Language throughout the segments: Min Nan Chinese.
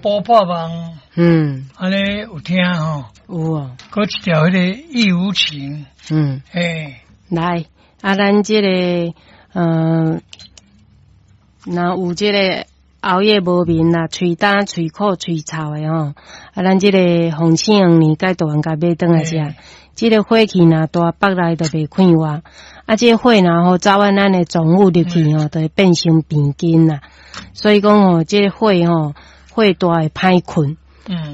補破夢，按呢有聽吼？有哦。閣一條彼個義無情，嘿。來，啊，咱這個，若有這個熬夜無眠啦，喙焦、喙苦、喙臭的吼，啊，咱這個鳳翅黃連佮大丸共買轉來食。這個火氣若大，腹內就袂快活。啊，這個火若吼走按咱的臟腑入去吼，就會變成病根啦。所以講吼，這個火吼，火大會歹睏。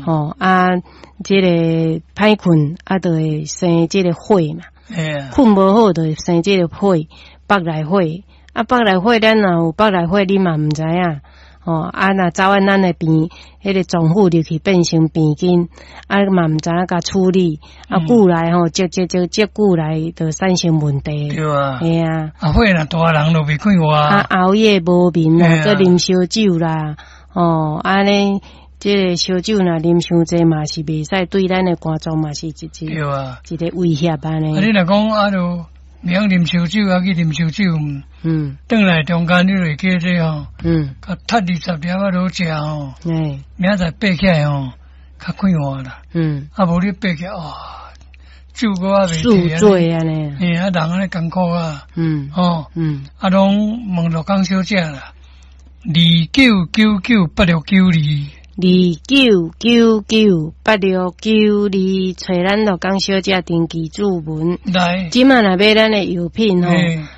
吼，啊，這個歹睏，啊，就會生這個火嘛。睏無好，就會生這個火，腹內火。啊，腹內火，咱若有腹內火，你嘛毋知影。吼，啊，若走按咱的病，彼個臟腑入去變成病根，啊嘛毋知影共處理，啊久來吼，積積積積久來，就產生問題。對啊。嘿啊。啊，火若大人就袂快活。啊，熬夜無眠啦，閣啉燒酒啦，吼，按呢，這個燒酒若啉傷濟嘛是袂使，對咱的肝臟嘛是一一個威脅按呢。啊，你若講啊，就袂曉啉燒酒，啊去啉燒酒，轉來中間你就會記這吼，較踢20粒仔落食吼，明仔載爬起來吼，較快活啦。啊，無你爬起來，哇，酒閣猶未宿醉按呢。嘿，啊，人按呢艱苦啊。吼。啊，攏問陸江小姐啦，29998692。29998692，揣咱陸江小姐登記注文。來。這馬若買咱的藥品吼，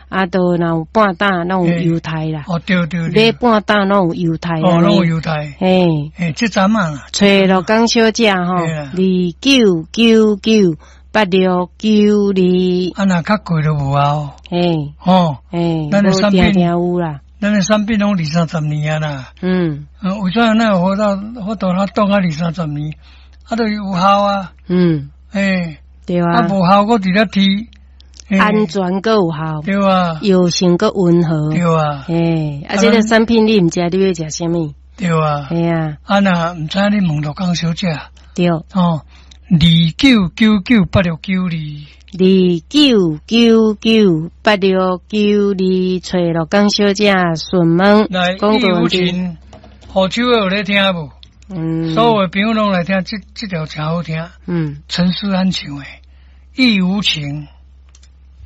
啊，都若有半擔攏有優待啦。哦，對對對。買半擔攏有優待。哦，攏有優待。嘿。嘿，這陣啊。揣陸江小姐吼，29998692。啊，若較貴就無啊。嘿。吼。嘿。咱的產品。無定定有啦。咱的產品攏二三十年啊啦。為啥咱有法度咱擋啊二三十年？啊，就是有效啊。嘿。對啊。啊，無效，閣佇咧提。安全閣有效。對啊。藥性閣溫和。對啊。嘿，啊，這個產品你毋知你欲食啥物？對啊。嘿啊。啊，若毋知你問陸江小姐。對。哦，29998692。29998692，揣陸江小姐詢問。來，義無情，好手的有咧聽無？所有的朋友攏來聽，這條誠好聽。陳勢安唱的《義無情》。